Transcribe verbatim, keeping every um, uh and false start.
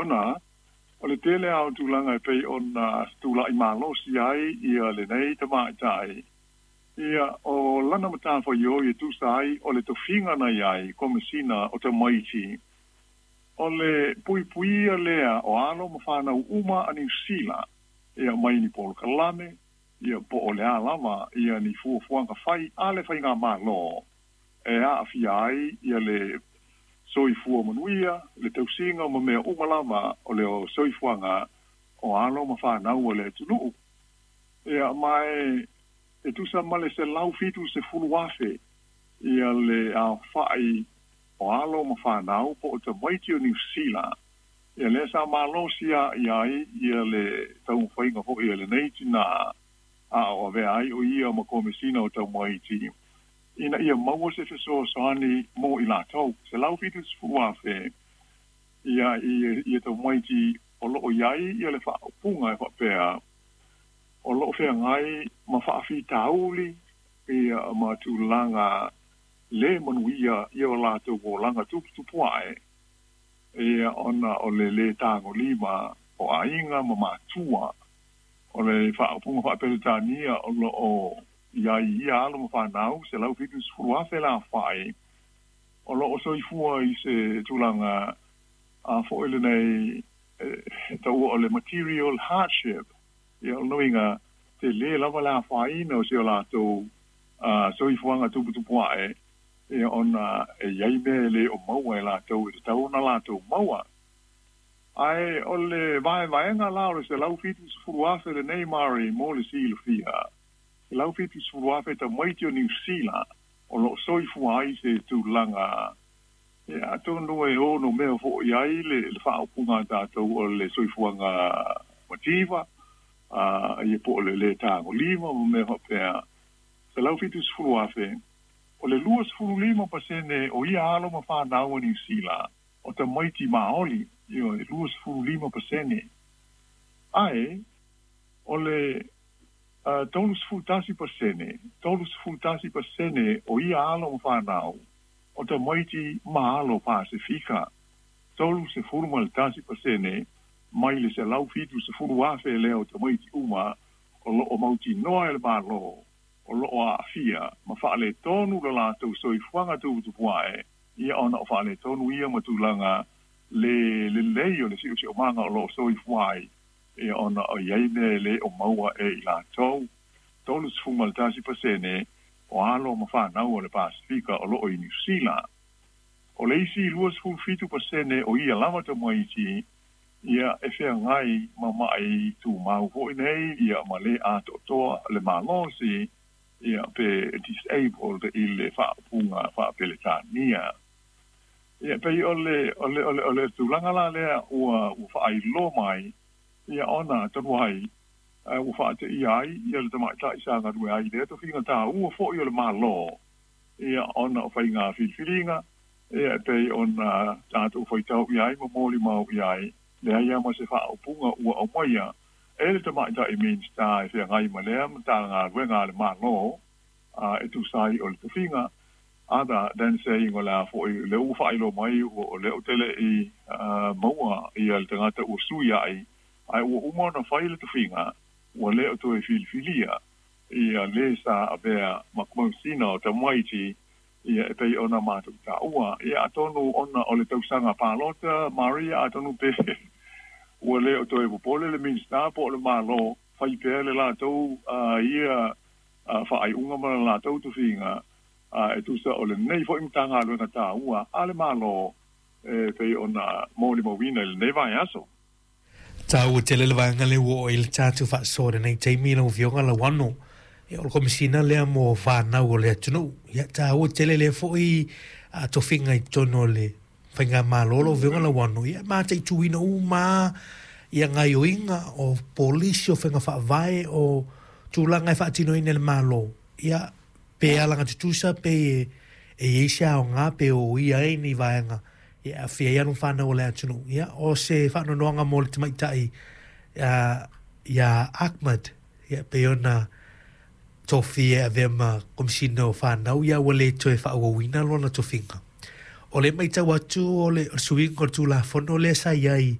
Ona o le tele lava o tulaga e pei ona tula'i malosi ai ia lenei tamaitai, ia o lana matafaioi e tusa ai o le tofiga na i ai Komesina o Tamaiti, o le puipuia lea o alo ma fanau uma a Niu Sila, ia mai ni polokalame, ia po o le a lava ia ni fuafuaga fai a le faigamalo e aafia ai ia le soifua manuia, le tausiga ma mea uma lava o le soifuaga o alo ma fanau o le atunuu. Ia ma e e tusa ma le selau fitu sefulu afe ia le aofa'i o alo ma fanau po o tamaiti o Niu Sila, ia lea sa malosi a'i ai ia le taumafaiga fo'i a lenei tinā a o avea ai o ia ma Komesina o Tamaiti ina ia maua se fesoasoani mo i latou. Selau fitu sefulu afe ia ia ia tamaiti o loo i ai ia le faaupuga e faapea o loo feagai ma faafitauli ia ma tulaga lē manuia ia o latou olaga tuputupu ae, ia ona o le lē tagolima o aiga ma matua. O le faaupuga faapeletania o loo i ai ia alo ma fanau selau fitu sefulu afe le aofa'i o loo soifua i se tulaga a fo'i lenei e taua o le material hardship. Ia o lona uiga telē lava le afaina o si o latou soifuaga tuputupu ae, ia ona e i ai mea e lē o maua e latou e tatau ona latou maua. Ae o le vaevaega la o le selau fitu sefulu afe lenei, Mari, mo le silafia, selau fitu sefulu afe tamaiti o Niu Sila o loo soifua ai se tulaga ia atonu e ono mea fo'i ai le le faaupuga a tatou o le soifuaga mativa a ia po o le lē tagolima ma mea faapea. Selau fitu sefulu afe, o le lua sefulu lima pasene o ia alo ma fanau a Niu Sila o tamaiti Maoli, ioe, lua sefulu lima pasene. Ae o le tolu sefulu tasi pasene, tolu sefulu tasi pasene o ia alo ma fanau o tamaiti ma alo Pasefika, tolu sefulu ma le tasi pasene mai le selau fitu sefulu afe lea o tamaiti uma o loo mautinoa e le Malo o loo aafia ma faaletonu lo latou soifuaga tuputupu ae, ia ona o faaletonu ia ma tulaga le lelei o le siosiomaga o loo soifua ai, ia ona o i ai mea e lē o maua e i latou. Tolu sefulu ma le tasi pasene o alo ma fanau o le Pasefika o loo i Niu Sila. O le isi lua sefulu fitu pasene o ia lava tamaiti, ia e feagai ma ma'i tumau fo'i nei, ia ma lē atoatoa le malosi, ia pe disabled i le faaupuga faapeletania. Ia pei o le o le o le o le tulaga la lea ua ua faailoa mai, ia ona talu ai ua faateia ai ia le tamaita'i sa galue ai lea tofiga tāua fo'i o le Malo, ia ona o faiga filifiliga, ia pei ona tatou faitau i ai ma molimau i ai, leai a ma se faaupuga ua aumaia e le tamaita'i Minista e feagai ma lea matagaluega a le Malo e tusa ai o le tofiga, other than saying o le a fo'i le ua faailoa mai o lea ou te le'i maua ia le tagata ua sui ai, ae ua uma ona fai le tofiga, ua lē o toe filifilia ia lē sa avea ma Komesina o Tamaiti, ia e pei ona matou taua. Ia atonu ona o le tausaga palota, Maria, atonu pe ua lē o toe popole le Minista po o le Malo, fai pea le latou ia faaiuga ma le latou tofiga e tusa o lenei fo'i matagaluega tāua a le Malo e pei ona molimauina i lenei vaiaso. Taua tele le vaega le ua oo i le tatou faasoa lenei taimi lau Afioga Lauano. Ia o le Komesina lea mo fanau o le atunuu. Ia taua tele lea fo'i tofiga i totonu o le faigamalo lau Afioga Lauano. Ia mataituina uma ia gaioiga o polisi o faiga faavae o tulaga e faatinoina e le Malo. Ia pe alaga tutusa pe e i ai se aoga pe o ia ai ni vaega ia aafia ai alo ma fanau o le atunuu. Ia o se faanoanoaga mo le tamaitai ia Ahmad, ia pei ona tofia e avea ma Komesina o Fanau, ia ua lē toe faaauauina lona tofiga. O le matau atu o le suiga o le Tulafono lea sa i ai.